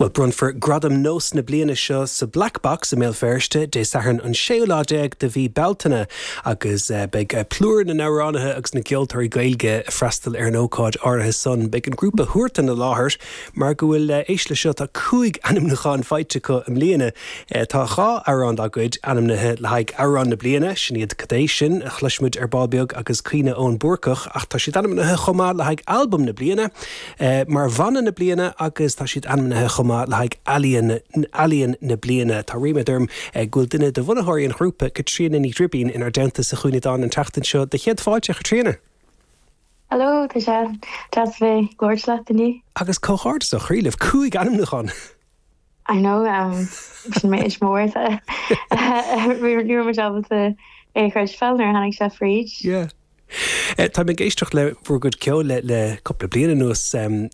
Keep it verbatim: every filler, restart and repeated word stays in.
Well bronnfar Gradam Nós na bliana seo sa Black Box i mBéal Feirste Dé Sathairn an séú lá déag de mhí Bealtaine agus uh, beidh uh, plúr na n-amhránaithe agus na gceoltóirí Gaeilge ag freastal ar an ócáid áirithe san beidh an grúpa Huartan i láthair mar go bhfuil uh, éist le seo tá cúig ainmniúchán faighte acu i mbliana uh, tá dhá amhrán dá gcuid ainmnithe le haghaidh amhrán na bliana sin iad Cad é sin a chloisfimid ar ball beag agus Caoineadh Eoin Búrcach ach tá siad ainmnithe chomh maith le haghaidh albam na bliana uh, mar bhanna na bliana agus tá siad ainmnithe chomh maith le haghaidh ealaíon ealaíon na bliana Tá ríméad orm go bhfuil duine de bhunaitheoirí an ghrúpa Caitríona Ní Ghribín inár dteannta sa Chuimhneadán an tseachtain seo de chéad fáilte Caitríona. Hello tá sé deas bheith ag labhairt leat inniu. Agus comhghairdeas ó chroí libh cúig ainmniúchán. I know um, sin méid mór ní mar ábalta é chreidbheáil nuair tháinig sé fríd. Yeah. Tá mé ag éisteacht le bhur gcuid ceoil le le cúpla bliain anuas um,